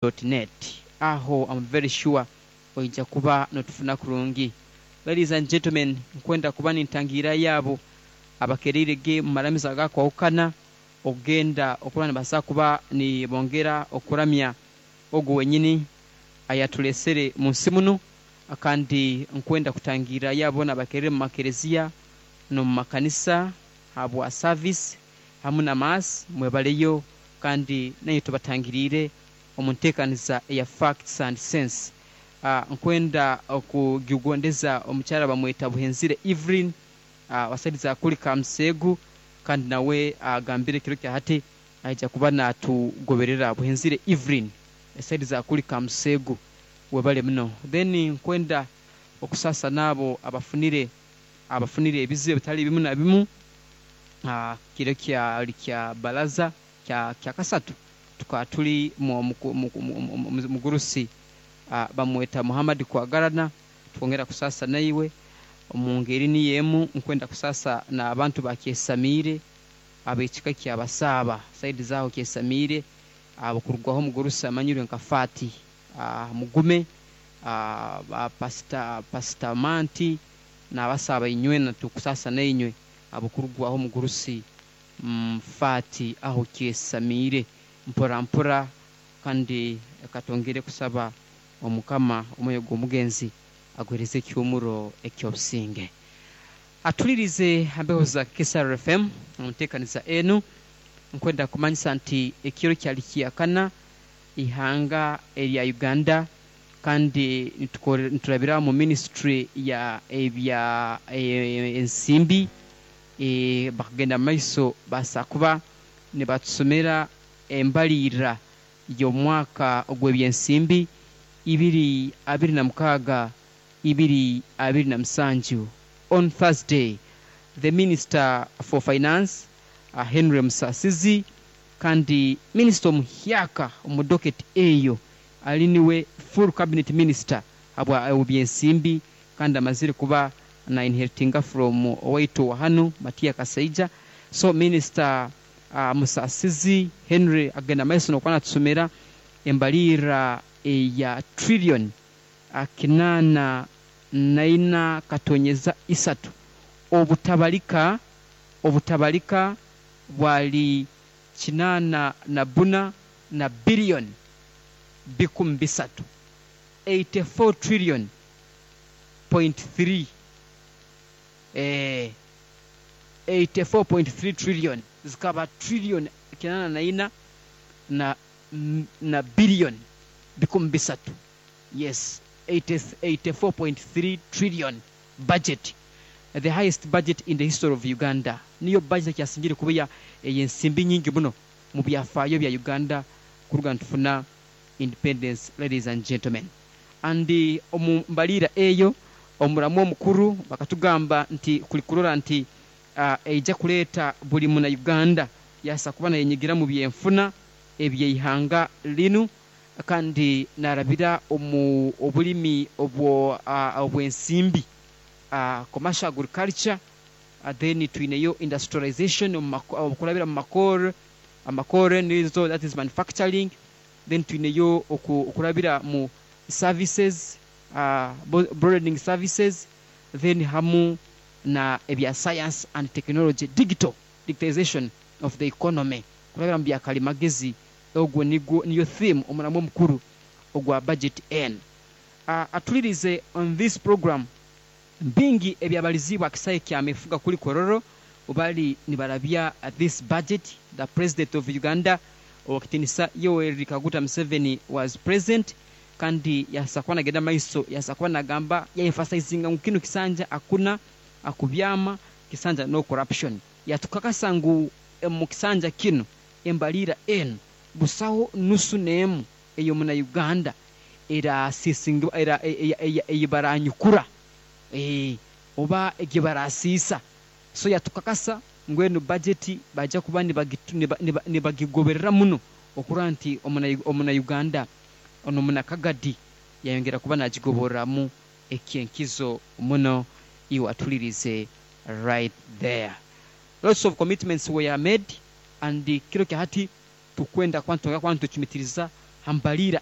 Net aho am very sure oija kuba notufuna kurungi. Ladies and gentlemen, nkwenda kuba nintangiira yaabo abakereire ge mu maramizo agakwahukana okugenda okuba nibaasa kuba nibongera okuramya ogu wenyini ayaturesere mu nsi munu. Kandi nkwenda kutangiira yaabo boona abakereire mu makereziya n'omu makanisa habwa service hamu na mass, mwebaleyo kandi nainywe tubatangiriire omu nteekaniza eya Facts and Sense. Nkwenda okugigondeza omukyara bamweta Buhenzire Evelyn wasaidiza kuli Kamuseegu kandi nawe agambire ekiro kya hati aija kuba natugoberera. Buhenzire Evelyn esaidiza kuli Kamuseegu, webale muno. Then nkwenda okusasa n'abo abafunire abafunire ebizibu ebitali bimu na bimu kiro kyali kya baraza kya kya kasatu tukaba tuli mugurusi bamweta Muhammad Kwagarana, twongera kusasa naiwe omu ngeri niyo emu. Nkwenda kusasa n'abantu bakyesamiire ab'ekika kya Basaaba saidi zaaho kyesamiire abo kurugwaho omugurusi amanyirwe nka Fati Mugume, ba pastor, Pastor Manti n'Abasaaba inywena tukusasa nainywe abo kurugwaho omugurusi Fati aho kyesamiire mpora mpora. Kandi katwongere kusaba Omukama omwoyo gw'omugenzi aguhereze ekyomuro eky'obusinge. Atulirize hambeho za Kisaro FM omu nteekaniza enu. Nkwenda kumanyisa nti ekiro kyali kyakana ihanga erya Uganda kandi niturabira mu ministry ya ebya ensimbi, bakagenda mu maiso baasa kuba nibatusomera embalirira y'omwaka ogw'ebyensimbi 2026 2027. On Thursday, the Minister for Finance, Henry Musasizi, kandi minisita omuhyaka omu docket eyo ali niwe full cabinet minister habwa ebyensimbi kandi amazire kuba na inheritinga from owaitu wa hanu Matia Kasaija. So Minister Musasizi Henry agenda maiso nokuba natusomera embalirira eya trillion 84.3, obutabalika obutabalika bwali 84 na billion 300, 84 trillion point 3, 84.3 trillion, zikaba trillion 84 na billion 300. Yes, 84.3 trillion budget, the highest budget in the history of Uganda. Niyo budget kyasingire kuba ya ey'ensimbi nyingi muno mu byafaayo bya Uganda kuruga nitufuna independence, ladies and gentlemen. And omu mbalira eyo omuramu omukuru bakatugamba nti kuli kurora nti eija kuleeta buli muna Uganda yasa kuba nayenyigira mu byenfuna ebyeihanga linu kandi narabira omu obulimi obwo obwensimbi, commercial agriculture, then twineyo industrialization okurabira mu makore amakore nizo, that is manufacturing. Then twineyo okurabira mu services, broadening services, then hamu na ebya science and technology, digital digitization of the economy kurabira mu byakalimagezi. Ogwo nigwo niyo theme, omuramu omukuru ogwa budget n atulirize on this program. Bingi ebyabalizibwa akisae kya mefuga kuli Kororo bali nibarabya this budget. The President of Uganda, owakitinisa Yoweri Kaguta Museveni, was present kandi yasa kuba nagenda maiso, yasa kuba nagamba ya emphasizinga ngu kinu kisanja akuna akubyama kisanja no corruption. Yatukakasa ngu mu kisanja kinu embalira enu busaho nusu n'emu ey'omuna Uganda erasisingibwa era eyibaranyukura oba egibarasiisa. So yatukakasa ngu enu budget baija kuba nibagigoberera muno okurora nti omuna Uganda ono munakagadi yayongera kuba nagigoboreramu ekyenkizo muno. Iwe atulirize right there, lots of commitments were made and kiro kya hati tukwenda kuba nitwongera kuba nitucumitiriza. Hambaliira.